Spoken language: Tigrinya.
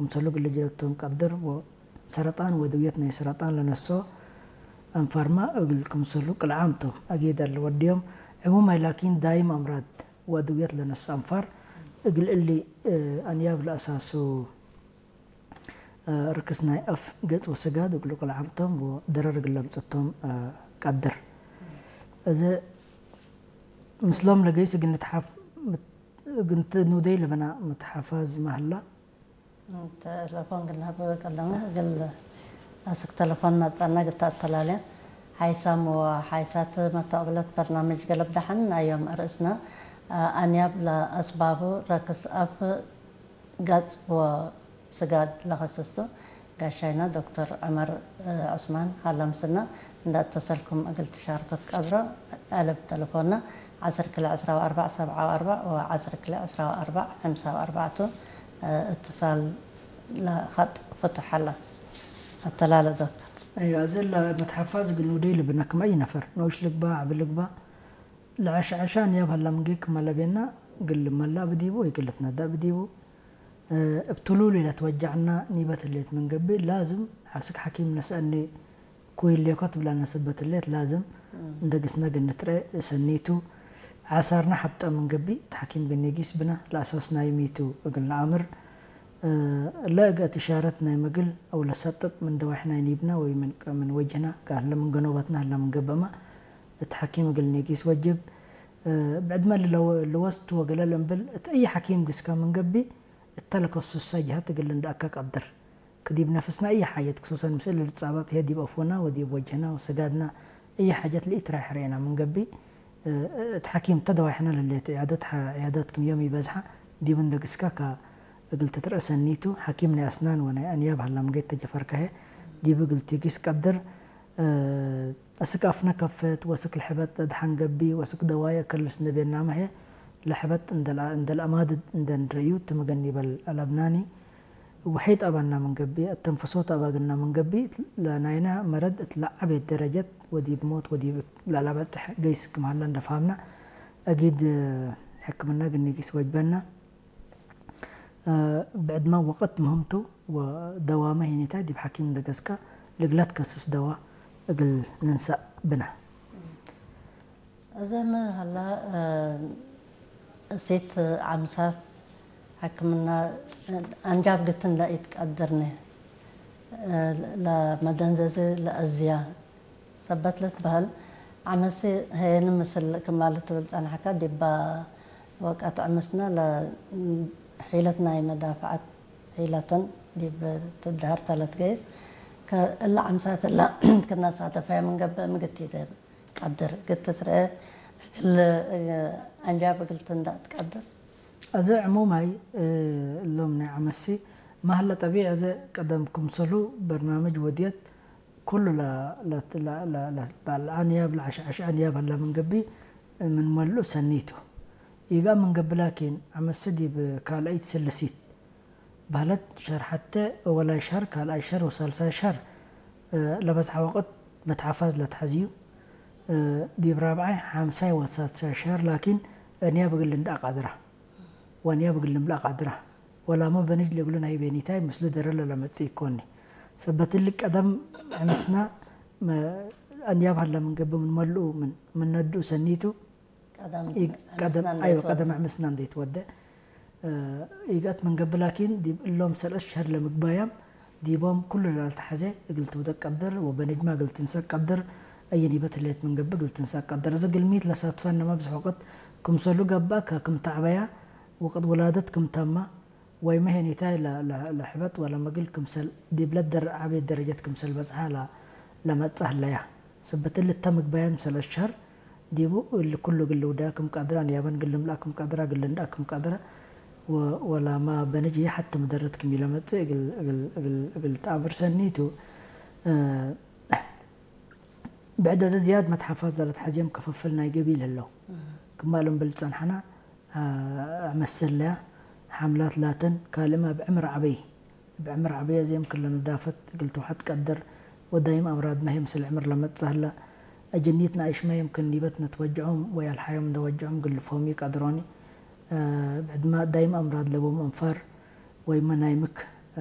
ክምሰሉ ግል ጅረቶም ቀድር ወሰረጣን ወድውየት ናይ ሰረጣን ለነሶ ኣንፋርማ እግል ክምሰሉ ቅልዓምቶም ኣጌድ ኣለወ ዲዮም ዕሙማይ ላኪን ዳይም ኣምራድ ወድውየት ለነሶ ኣንፋር እግል እሊ ኣንያብ ለኣሳሱ ርክስ ናይ ኣፍ ገጽ ወስጋድ እግሉ ቅልዓምቶም ወደረር እግል ለምጽቶም ቀድር። እዚ ምስሎም ለገይስ እግል ንትሓፍ- እግል ንውደይ ለበና ምትሓፋዝ ማህላ። ተለፎን ግናብ ቀደም እግል ኣስክ ተለፎን መጸና ግታ ኣተላልያ ሓይሳም ወሓይሳት መተቕብለት በርናምጅ ገለብ ደሓን ኣዮም ኣርእስና ኣንያብ ለኣስባቡ ረክስ ኣፍ ገጽ ወስጋድ ለኸሰስቱ ጋሻይና ዶክተር ዑመር ዑስማን ሃላ ምስልና እንዳተሰልኩም እግል ትሻርኩት ቀብሮ ኣለብ ተለፎና ዓሰርተ ክልተ ዕስራ ወኣርባዕ ሰብዓ ወኣርባዕ ወዓሰርተ ክልተ ዕስራ ወኣርባዕ ሓምሳ ወኣርባዕቱ እትሳል ለኸጥ ፍቱሕ ኣላ። ኣተላለ ዶክተር። أيوة، أزل متحفظ قلو ديل بنك ما ينفر نوش لقبا عبل لقبا ለዐሽዐሻ ኣንያብ ሀላ ምንጌ ክመ ለቤና፣ እግል ልመላእ ብዲቡ ወይእግል ልትነደእ ብዲቡ፣ እብ ትሉል ኢለትወጀዐና ኒበት ህሌት ምን ገብእ፣ ላዝም ሐስክ ሐኪም ነስአኒ ኩይሌኮ ትብለነ ሰበት ህሌት፣ ላዝም እንደ ግስነ እግል ንትርኤ ሰኒ ቱ። ዐሳርነ ሐብጠ ምን ገብእ፣ እት ሐኪም እግል ኔጊስ ብነ፣ ለአሳስ ናይ ሚ ቱ እግል ነአምር፣ እለ እገ እት እሻረት ናይ ምግል አው ለሰጥጥ ምን ደዋሕና ይኒብና ወይ ምን ወጅህና ጋር ለምን ገኖበትና ህለ ምን ገብእመ እት ሐኪም እግል ኔጊስ ወጅብ። ብዕድመ ልወስት ወገለ ልንብል እት እይ ሐኪም ግስካ ምን ገብእ እተ ለከሱሰ ጅሀት እግል ልንደአከ ቀድር። ክዲብ ነፍስና እይ ሓየት ክሱሰን ምስል ልጻበጥ ህየ ዲብ አፎና ወዲብ ወጅህና ወስጋድና እይ ሓጀት ልኢትራይ ሕሬና ምን ገብእ እት ሐኪም እተ ደዋሕና ለሌት ዕያደት ዕያዳት ክም ዮም ይበዝሓ ዲብ እንደ ግስካ እግል ትትርአ ሰኒቱ፣ ሐኪም ናይ አስናን ወናይ አንያብ ሀላ ምንጌ ተጀፈርከ ህየ፣ ዲብ እግል ቲጊስ ቀድር፣ አስክ አፍነ ከፈት ወስክ ለሕበጥ ደድሐን ገብእ ወስክ ደዋየ ከልስ ነቤናመ ህየ፣ ለሕበጥ እንደ ለአማድድ እንደ ንድረዩ ትምገኒ በል አለብናኒ፣ ውሒጥ አባና ምን ገብእ፣ አተንፈሶት አባግና ምን ገብእ፣ ለናይና መረድ እት ለዐቤት ደረጀት ወዲብ ሞት ወዲብ ለለበጽሕ ገይስ ክም ሀላ እንደ ፋምና፣ አጊድ ሕክምና እግል ኒጊስ ወጅበና። ብዕድመ ወቅት ምህምቱ ወደዋመ ሂኒታይ ዲብ ሐኪም እንደ ገስካ ልግለት ከስስ ደዋ እግል ንንሰእ ብነ። እዘ ሚ ሀላ እሴት ዓምሳት ሕክምና አንጃብ ግትን ለኢትቀድርኒ ለመደንዘዚ ለአዝያ ሰበት ልትበህል ዓመሲ ሀየኒ ምስል ክማል ትብል ጸናሕካ ዲባ ወቀት ዕምስና ለ ሒለት ናይ መዳፍዓት ሒለተን ዲብ ትድሃር ተለት ገይስ ከእለ ዓምሳት እላ ክነሳተፈ ምን ገብእ ምግት ይደብ ቀድር ግትትርአ እግል አንጃብ እግል ትንዳእ ትቀድር። አዘ ዕሙማይ እሎም ናይ ዓመሲ ማህለ ጠቢዕ አዘ ቀደም ክምሰሉ በርናምጅ ወድየት ኩሉ ለአንያብ ለዐሽዐሽ አንያብ ሀላ ምን ገብእ ምን መልኡ ሰኒቱ። ኢጋ ምን ገብእ ላኪን፣ ዐመሲ ዲብ ካልአይት ስልሲት በህለት ሸር ሐቴ፣ እወላይ ሸር፣ ካልአይ ሸር ወሳልሳይ ሸር ለበዝሐ ወቅት መትሐፋዝ ለትሐዝዩ፣ ዲብ ራብዓይ፣ ሐምሳይ ወሳድሳይ ሸር ላኪን፣ አንያብ እግል ልንድአ ቃድራ ወአንያብ እግል ልምልአ ቃድራ። ወላመ በንጅ ለእግሉ ናይ ቤኒታይ ምስሉ ደረ ለለመጽእ ኢኮኒ። ሰበት እሊ ቀደም ዕምስና አንያብ ሀለ ምን ገብእ ምን መልኡ ምን ነድኡ ሰኒቱ ቀደም ዕምስና እንዴት ወደ ኢገት ምን ገብእ ላኪን ዲብ እሎም ሰለስ ሸህር ለምግባያም ዲቦም ኩሉ ላልተሐዜ እግል ትውደቅ ቀድር ወበንጅማ እግል ትንሰእ ቀድር። አይ ኒበት ህሌት ምን ገብእ እግል ትንሰእ ቀድር። እዚ ግልሚት ለሳትፈ እነመ ብዝሕ ወቅት ክምሰሉ ገብአ ከክም ተዕበያ ወቅት ውላደት ክም ተማ ወይመ ሄኒታይ ለሕበጥ ወለመግል ክምሰል ዲብለ ደር ዐቤት ደረጀት ክምሰል በጽሐ ለመጽእ ህለያ። ሰበት እሊ እተ ምግባየ ምሰል አሽሀር ዲቡ እሊ ኩሉ እግል ልውደያ ክም ቀድረ፣ አንያበን እግል ልምልአ ክም ቀድረ፣ እግል ልንድአ ክም ቀድረ ወላመ በንጅ ሐቲ ምደረት ክም ኢለመጽእ እግል ተአምር ሰኒ ቱ። ብዕድ አዘ ዝያድ መትሐፋዝ ለለትሐዝዮም ከፈፍል ናይ ገቢል ህለው። ክማል እምብል ጸንሐና፣ ዐመሰለያ ሐምላት ላተን፣ ካልእመ እብ ዕምር ዐበይ፣ እብ ዕምር ዐበይ አዘ የምክን ለነዳፈት እግል ትውሐጥ ቀድር፣ ወዳይም አምራድመ ህይ ምስል ዕምር ለመጽእ ህለ። አጀኒት ነአይሽመ የምክን ኒበት ነትወጅዖም ወይ አልሐዮም እንደ ወጅዖም ግልፎም ኢቀድሮኒ። ብዕድመ ዳይም አምራድ ለቦም አንፋር ወይመ ናይ ምክ